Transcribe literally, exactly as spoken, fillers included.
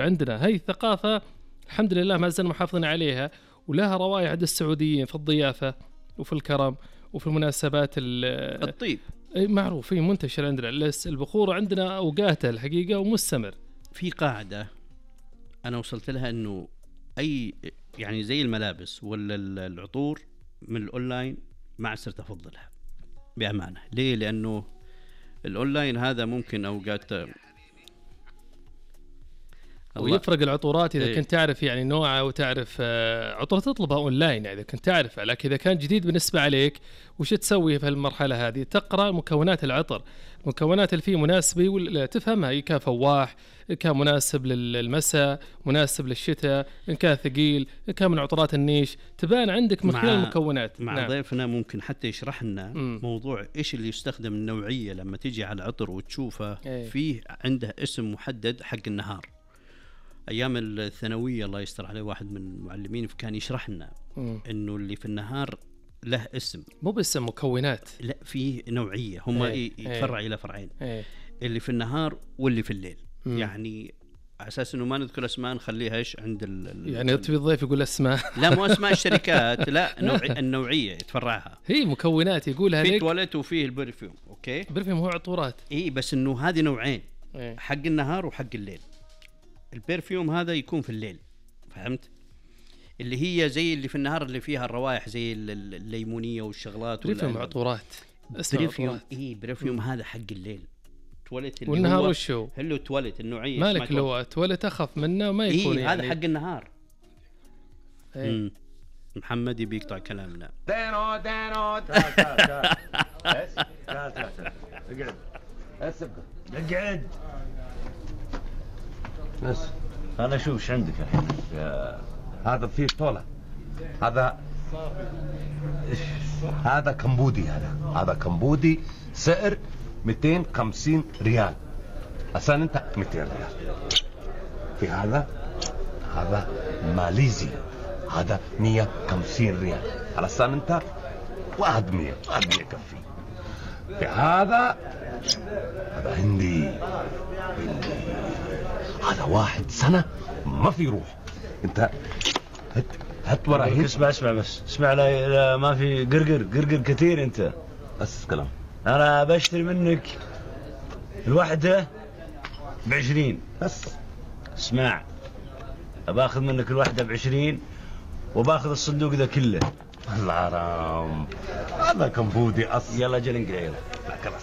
عندنا هاي الثقافة الحمد لله ما زلنا محافظين عليها، ولها روايح عند السعوديين في الضيافة وفي الكرم وفي المناسبات الطيب معروف هي منتشر عندنا. البخور عندنا أوقاته الحقيقة ومستمر. في قاعدة أنا وصلت لها إنه أي يعني زي الملابس ولا العطور من الأونلاين ما صرت أفضلها بأمانة. ليه؟ لأنه الأونلاين هذا ممكن أوقات ويفرق العطورات إذا ايه. كنت تعرف يعني نوعها وتعرف عطور تطلبها أونلاين إذا كنت تعرفها، لكن إذا كان جديد بالنسبة عليك وش تسوي في المرحلة هذه؟ تقرأ مكونات العطر، مكونات اللي فيه مناسبة ولا تفهمها، إن كان فواح، إن كان مناسب للمساء، مناسب للشتاء، إن كان ثقيل، إن كان من عطرات النيش، تبان عندك من خلال المكونات. مع نعم. ضيفنا ممكن حتى يشرح لنا موضوع إيش اللي يستخدم النوعية لما تيجي على عطر وتشوفه ايه. فيه عنده اسم محدد حق النهار. أيام الثانوية الله يستر عليه واحد من المعلمين كان يشرح لنا إنه اللي في النهار له اسم، مو بس مكونات، لا فيه نوعية، هم ايه يتفرع ايه إلى فرعين ايه اللي في النوع واللي في الليل. مم. يعني على أساس إنه ما نذكر أسماء نخليها إيش عند ال يعني تبي الضيف يقول أسماء لا مو أسماء الشركات لا نوع النوعية يتفرعها هي مكونات يقولها في تواليت وفيه البرفيوم. أوكي البرفيوم هو عطورات إيه، بس إنه هذه نوعين ايه. حق النهار وحق الليل. البرفيوم هذا يكون في الليل، فهمت؟ اللي هي زي اللي في النهار اللي فيها الروائح زي الليمونية والشغلات. برفيوم عطورات برفيوم إيه برفيوم م. هذا حق الليل. تواليت اللي والنهار هو وشو هلو تواليت النوعية مالك لو تواليت أخف منه ما يكون إيه يعني هذا حق النهار. ايه. محمد يبي يقطع كلامنا. دانو دانو تعال تعال تعال بس تعال تعال اقعد بس اقعد بس. انا اشوف ايش عندك الحين. هذا فيه طولة، هذا هذا كمبودي، هذا هذا كمبودي سعر مئتين وخمسين ريال. عشان انت مئتين ريال. في هذا هذا ماليزي، هذا مئة وخمسين ريال. علشان انت واحد مئة واحد مئة كفي. في هذا هذا هندي هندي هذا واحد سنة ما في روح. انت هت هت ورا هيك. اسمع اسمع بس اسمع، لا, لا ما في قرقر قرقر كثير. انت بس كلام. انا بشتري منك الوحدة بعشرين بس. اسمع باخذ منك الوحدة بعشرين وباخذ الصندوق ذا كله. الحرام هذا كمبودي اصلا. يلا جل انقل يلا. لا خلاص.